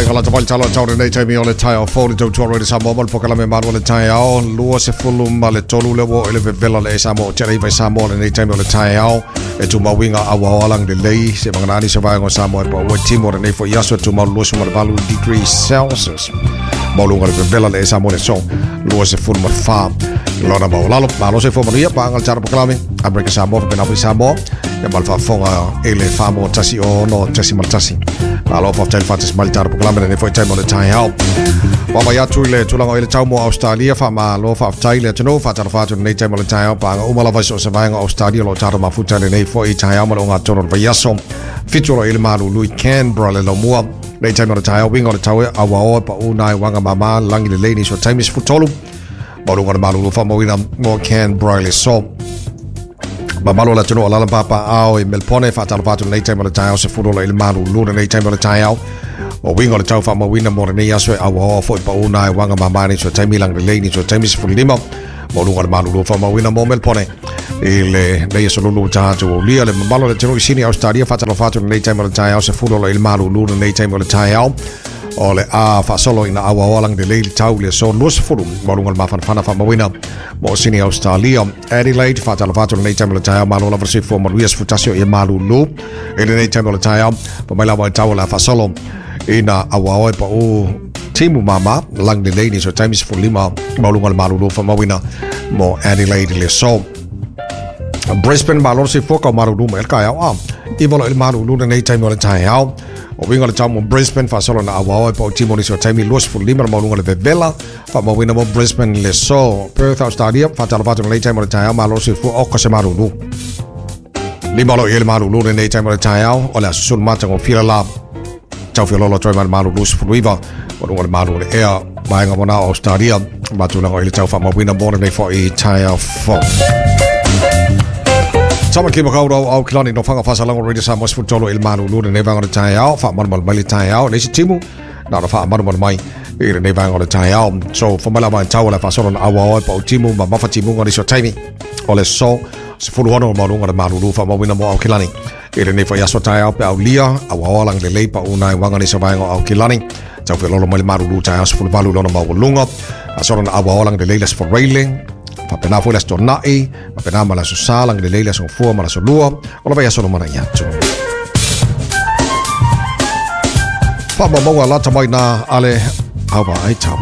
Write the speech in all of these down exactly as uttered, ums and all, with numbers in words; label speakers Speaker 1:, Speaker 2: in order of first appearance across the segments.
Speaker 1: Whaikala te whaitalo tau nei taimi o le tai o fōri tau tuaro i le Samoa ma le pokalame malu o le tai ao lua se fulu ma le tolu le wo ele vevela le e Samoa o tere iwa i Samoa le nei taimi o le tai ao e tu mauinga awa oalang le lei se manganani se vaenga o Samoa e pa ua timo le nei fo iaso e tu mau lua suma le valu degrees Celsius maulunga le vevela le e Samoa le so lua se fulu ma wha lona maulalo malo se fo manuia pa angal tara pokalame Amerika Samoa whapena fo i Samoa ia malfafonga ele wha tasi o no tasi mal tasi malo fa tel fatis mal tara pokalame ne foi taimo le tai ao Papa ia tu le tulaga i le tau mo Australia fa malo fa tai le tino fa tara fa nei taimo le tai ao pa uma lava so se vaenga Australia lo tara mafuta le nei foi tai ao ma longa toro vaiaso fituro i le malu lui Canberra le lomua nei taimo le tai ao winga le tau awa o pa unai wanga mama langi le leni so taimis futolu malunga le malu fa moina mo Canberra le so Mamalo la tino alala papa ao i Melpone fa tara fa nei taimo le tai ao se furo le malu luna nei taimo le tai ao o wingo le tau whaamawina mo nei aso e awa oa fo i pauna e wanga mamani so taimi lang le leini so taimi sefulima mo lunga le malulu whaamawina mo Melpone i le nei aso lulu tātu o lia le mamalo le tino i sini Australia whatalo whatu nei taimi o le tai ao se furo le malulu nei taimi o le tai ao o le a whaasolo ina awa oa lang le leili tau le so lua sefulu mo lunga le mawhanawhana whaamawina mo sini Australia Adelaide whatalo whatu nei taimi o le tai ao malo lava se fo maluia sefutasio i malulu i le nei taimi o le tai ao pamaila wa tau la whaasolo ina awa oe pa o timu mama lang le leini so taimi se lima maulunga le malulu whamawina mo Adelaide le so Brisbane malo se foka marulu me ka au a iwalo le malulu nei taimi o le tai ao o winga le tau mo Brisbane whasolo na awa oe pa o timu ni so taimi lua se lima maulunga le vevela whamawina mo Brisbane le so Perth Australia whatalo whatu nei taimi o le tai ao malo se foka oka se malulu lima lo i le malulu nei taimi o le tai ao o le asusulu matanga o fila la tau whiololo toi mai malu lusi fuluiva o lunga le malu le ea maenga mona Australia matulanga i le tau whamawina mona nei fo i tai ao fo Tama ki makau rau au kilani no whanga whasalango Radio Samoa sefutolo i le malu luna nei vanga le tai ao whaamanumalu mai le tai ao leisi timu nā na whaamanumalu mai i le nei vanga le tai ao so whamala mai tau le whasolo na awa oe pa o timu ma mawha timunga ni so taimi o le so sefulu hono maulunga le malulu whamawina mo au kilani i le nei fo iaso tai ao pe au lia au aoalang le lei pa unai wanga ni sa vaenga au kilani tau whiololo mai le marulu tai ao sefulu valu lona maulunga a soro na au aoalang le lei le sefo reile whapena fo le aso na'i whapena ma le aso sa lang le lei le aso fua ma le aso lua o la vai aso mana i atu whaamaunga lata mai nā ale awa ai tau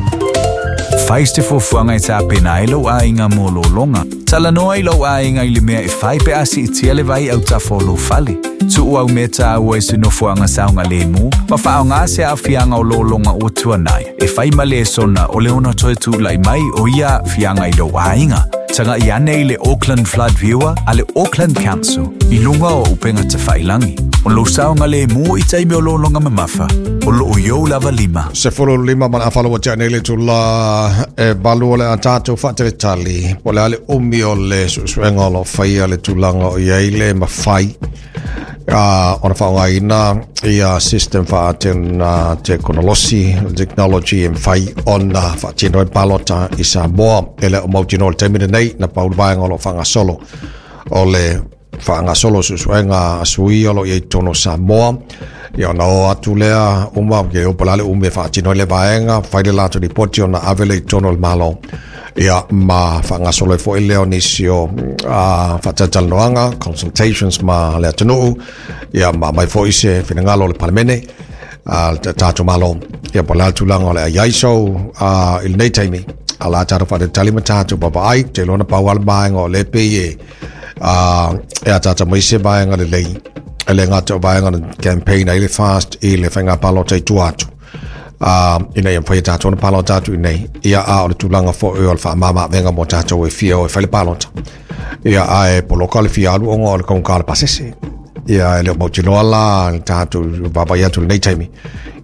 Speaker 2: Faiste fuafuaga e tapena ai lou aiga mo lologa. Talanoa i lou aiga i le mea e fai pe a siitia le vai autafa o lou fale. Tu'u au mea tāua i se nofoaga saogalemu ma fa'aaogā se a'afiaga o lologa ua tuanai e fai ma lesona o le ona toe tula'i mai o ia a'afiaga i lou aiga. Taga'i ane i le Auckland Flood Viewer a le Auckland Council i luga o upega tafa'ilagi. O lou saogalemu i taimi o lologa mamafa o loo iou lava lima.
Speaker 1: Se fulu lima mana awhalo wa tia nei le tula e balu o le atato whaateretali. Po le ale umi o le susuenga o lo whaia le tulaga o iai le mawhai. Uh, ona whaongaina ia system whaatena tekonolosi, technology e mwhai ona whaatino e palota i Samoa. Ele o mautino le taimine nei na paulu vaenga o lo whangasolo. O le whangasolo susuenga asui o lo iai tono Samoa. Ia ona o atu lea uma ke o palale ume whaatino le vaenga whaile lātou ripoti ona avele i tono le malo. Ia ma whangasolo e fo ile o nisi o uh, whatatalanoanga, consultations ma le atunuu, ia ma mai fo ise whinangalo le palemene, uh, tātou malo, ia po le tulaga o le aiaiso uh, i le nei taimi, a la tātou whatatali ma tātou papa ai, te lona pau ala maenga o le pe e, uh, e a tātou maise vaenga le lei, e le ngātou vaenga le campaign ai le fast i le whainga palota i tua atu. Uh, ina ia mwhai tātou na palota atu i ia a o le tulaga fo e o le whaamama venga mo tātou e fia o e whai le palota. Ia a e poloka le fia alu onga o le kaunga le pasese. Ia e leo mautinoa la le tātou vapai atu le nei taimi.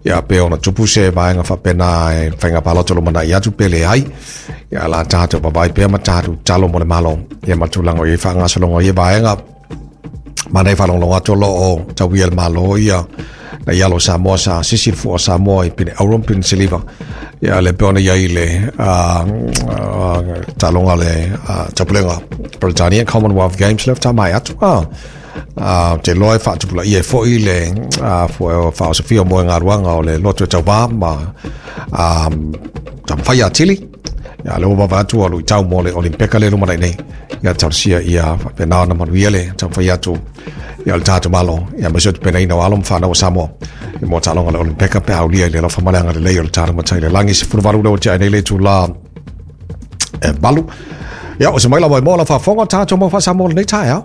Speaker 1: Ia pe ona tupu se vaenga whapena e whainga palota lo mana i atu pele ai. Ia la tātou vapai pea ma tātou talo mo le malo. Ia matulanga o i whangasolonga i vaenga. Mana i whalonglonga tolo o tauia le malo ia. Na ialo Samoa sa sisi fua Samoa i pine auron pine siliva ia le peona ia i le talonga le tapulega Britannia Commonwealth Games left mai atu a A te loa e faatupulaia ai foʻi le faaosofia mo e galuaga o le loto e tauvā ma taumafai atili. Ia le ua vava atu ua luʻitau mo le Olimpeka le lumanai nei. Ia talosia ia faapena ona manuia le taumafai atu ia o le tatou Malo, ia aemaise o tapenaina o alo ma fanau o Samoa mo taaloga le Olimpeka pe aulia i le alofa ma le agalelei o le tatou Matai le lagi. Sefuluvalu lea ua tea ai nei le itulā e valu. Ia o se mai lava i mo la faafofoga tatou mau faasamoa lenei taeao.